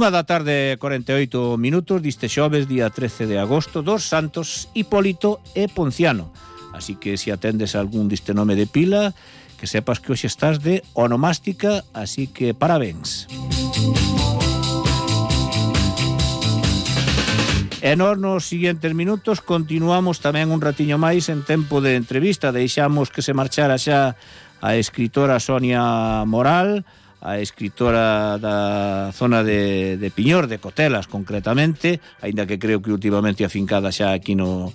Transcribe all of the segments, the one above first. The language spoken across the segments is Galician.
1:48 diste xoves, día 13 de agosto, dos santos Hipólito e Ponciano. Así que se atendes a algún diste nome de pila, que sepas que hoxe estás de onomástica, así que parabéns. E nós nos seguintes minutos continuamos tamén un ratiño máis en tempo de entrevista. Deixamos que se marchara xa a escritora Sonia Moral, a escritora da zona de Piñor, de Cotelas concretamente, aínda que creo que últimamente afincada xa aquí no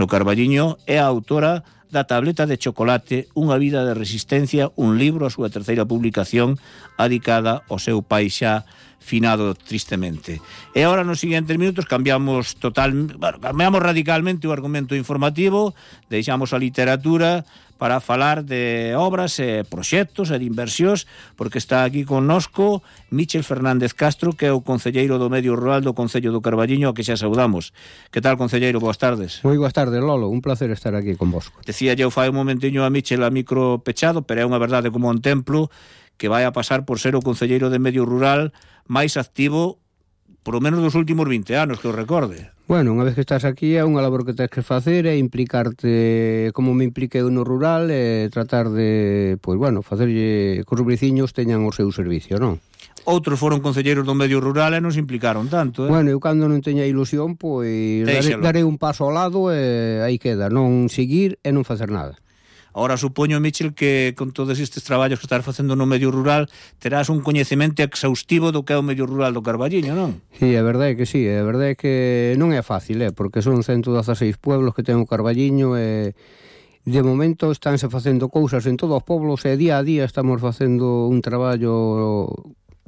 Carballiño, é a autora da Tableta de Chocolate, unha vida de resistencia, un libro, a súa terceira publicación, adicada ao seu pai xa finado tristemente. E agora nos seguintes minutos cambiamos radicalmente o argumento informativo, deixamos a literatura para falar de obras e proxectos e de inversións, porque está aquí connosco Míchel Fernández Castro, que é o concelleiro do Medio Rural do Concello do Carballiño, a que xa saudamos. Que tal, concelleiro? Boas tardes. Moi boas tardes, Lolo, un placer estar aquí con vosco. Decía eu fai un momentiño a Míchel a micro pechado, pero é unha verdade como un templo, que vai a pasar por ser o concelleiro de Medio Rural máis activo por lo menos dos últimos 20 anos, que os recorde. Bueno, unha vez que estás aquí é unha labor que tens que facer, é implicarte como me impliquei no rural, e tratar de, pois bueno, facerlle que os veciños teñan o seu servicio, non? Outros foron concelleiros do Medio Rural e non se implicaron tanto, Bueno, eu cando non teña ilusión, pois darei un paso ao lado e aí queda, non seguir e non facer nada. Ahora supoño, Míchel, que con todos estes traballos que estás facendo no medio rural terás un coñecemento exhaustivo do que é o medio rural do Carballiño, non? Sí, a verdade é que sí, a verdade é que non é fácil, porque son 116 pueblos que ten o Carballiño e de momento estánse facendo cousas en todos os poblos e día a día estamos facendo un traballo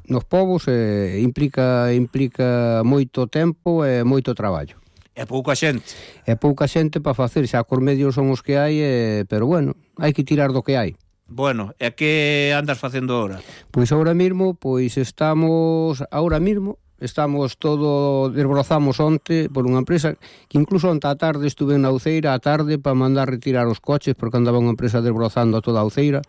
nos povos e implica moito tempo e moito traballo. É pouca xente. É pouca xente para facer, xa cos medios son os que hai, pero bueno, hai que tirar do que hai. Bueno, e que andas facendo ahora? Pois ahora mismo, estamos todo, desbrozamos onte por unha empresa, que incluso onte a tarde estuve na Uceira, a tarde, para mandar retirar os coches, porque andaba unha empresa desbrozando toda a Uceira.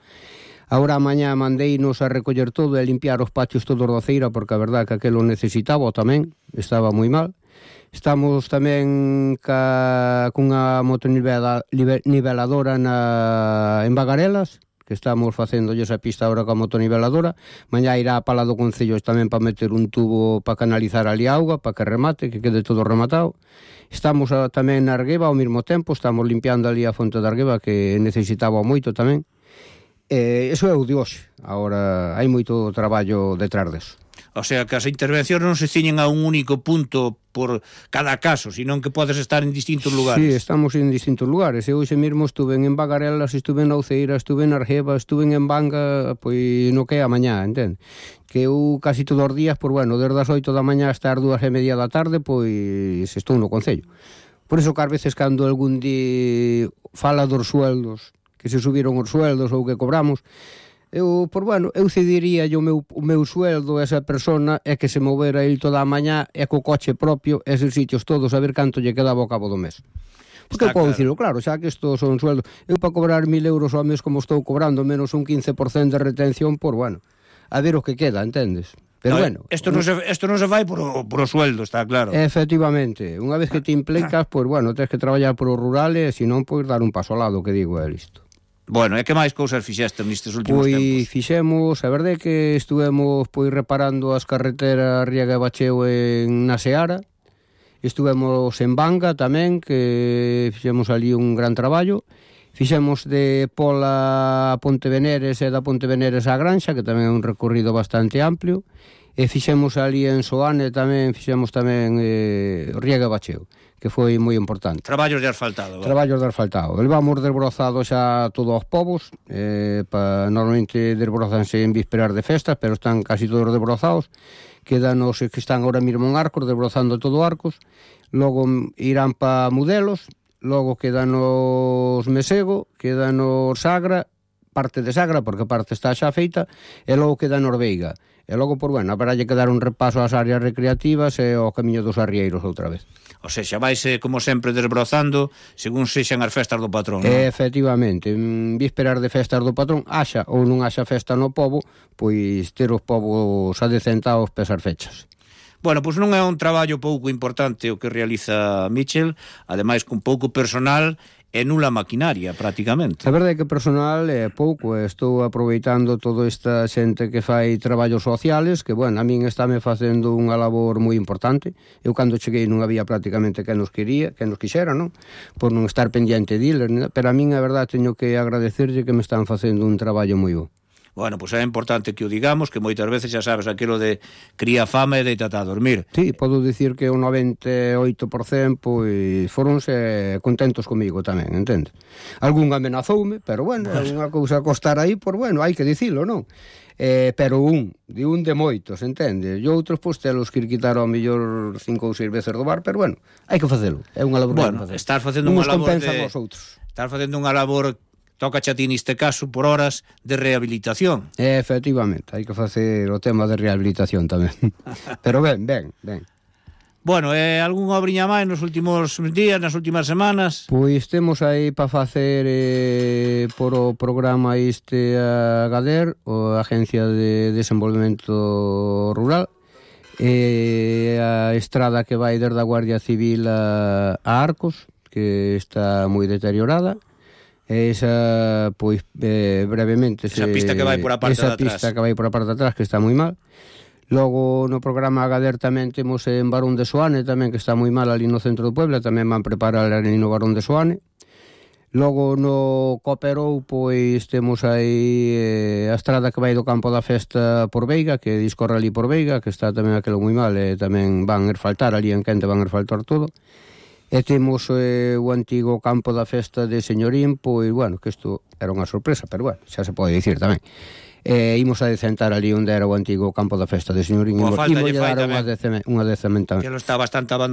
Agora a mañá mandeinos a recoller todo e a limpiar os patios todos da Uceira, porque a verdade que aquelo necesitaba tamén, estaba moi mal. Estamos tamén cunha motoniveladora en Bagarelas, que estamos facendo esa pista agora coa motoniveladora. Mañá irá a Pala do Concello tamén para meter un tubo para canalizar ali a auga, para que remate, que quede todo rematado. Estamos tamén na Argueba ao mesmo tempo, estamos limpiando ali a fonte da Argueba, que necesitaba moito tamén. Eso é o de hoxe. Agora hai moito traballo detrás deso. O sea, que as intervencións non se ciñen a un único punto por cada caso, sino que podes estar en distintos lugares. Sí, estamos en distintos lugares. Eu hoxe mesmo estuve en Bagarelas, estuve na Uceira, estuve na Argeba, estuve en Banga, pois no que é a mañá, entende? Que eu casi todos os días, desde as 8 da mañá hasta as 2:30 da tarde, pois estou no Concello. Por iso que ás veces cando algún día fala dos sueldos, que se subiron os sueldos ou que cobramos, eu cediría o meu sueldo a esa persona e que se movera ele toda a mañá e co coche propio eses sitios todos a ver canto lle quedaba ao cabo do mes. Porque eu podo dicirlo, claro, xa que estos son sueldos, eu para cobrar 1.000 euros ao mes como estou cobrando menos un 15% de retención, a ver o que queda, entendes? Pero isto non se fai por o sueldo, está claro. Efectivamente, unha vez que te implicas, tens que traballar por o rural e senón dar un paso ao lado, que digo, é listo. Bueno, e que máis cousas fixeste nestes últimos tempos? Pois fixemos, a verdade é que estuvemos reparando as carreteras Riega e Bacheo na Seara. Estuvemos en Banga tamén, que fixemos ali un gran traballo. Fixemos de Pola a Ponte Veneres e da Ponte Veneres á Granxa, que tamén é un recorrido bastante amplio. E fixemos ali en Soane tamén, Riega e Bacheo, que foi moi importante. Traballos de asfaltado. Levamos desbrozados xa todos os povos, normalmente desbrozanse en vísperas de festas, pero están casi todos desbrozados. Quedan os que están ahora mesmo en Arcos, desbrozando todo Arcos. Logo irán para Mudelos, logo quedan os Mesego, quedan os Sagra, parte de Sagra, porque parte está xa feita, e logo quedan os Veiga. E logo, haberá que dar un repaso ás áreas recreativas e ao camiño dos arrieiros outra vez. O sea, vaise, como sempre, desbrozando según sexan as festas do patrón, non? Efectivamente, en vísperas de festas do patrón, haxa ou non haxa festa no pobo, pois ter os povos adecentados pesas fechas. Bueno, pois non é un traballo pouco importante o que realiza Michel, ademais con pouco personal e nula maquinaria, prácticamente. A verdade é que personal é pouco, estou aproveitando toda esta xente que fai traballos sociales, que, bueno, a min estáme facendo unha labor moi importante. Eu, cando cheguei, non había prácticamente que nos quixera, non? Por non estar pendiente deles, pero a min, a verdade, teño que agradecerlle que me están facendo un traballo moi bo. Bueno, pois é importante que o digamos, que moitas veces xa sabes aquilo de cría fame e deita a dormir. Sí, podo dicir que o 98% pois foronse contentos comigo tamén, entende? Algún amenazoume, pero bueno, é unha cousa a costar aí, por bueno, hai que dicilo, non? Pero de moitos, entende? E outros, pois, telos que ir quitar ao mellor 5 ou 6 veces do bar, pero bueno, hai que facelo, é unha labor. Bueno, estás facendo unha labor estás facendo unha labor, toca a ti neste caso, por horas de rehabilitación. Efectivamente, hai que facer o tema de rehabilitación tamén. Pero ben. Bueno, algunha obriña máis nos últimos días, nas últimas semanas? Pois temos aí para facer por o programa a GADER, a Agencia de Desenvolvemento Rural, a estrada que vai desde a Guardia Civil a Arcos, que está moi deteriorada. Esa, pois, brevemente... Esa pista que vai por a parte de atrás. Esa pista que vai por a parte de atrás, que está moi mal. Logo, no programa GADER tamén temos en Barón de Soane, tamén, que está moi mal ali no centro do Puebla, tamén van preparar ali no Barón de Soane. Logo, no Cooperou, pois, temos aí a estrada que vai do campo da festa por Veiga, que discorre ali por Veiga, que está tamén aquilo moi mal, e tamén van asfaltar ali en Quente, van asfaltar todo. E temos o antigo campo da festa de Señorín, pois, bueno, que isto era unha sorpresa, pero bueno, xa se pode dicir tamén. Imos a decentar ali onde era o antigo campo da festa de Señorín, e imos dar unha decemento tamén. Que lo está bastante abandonado.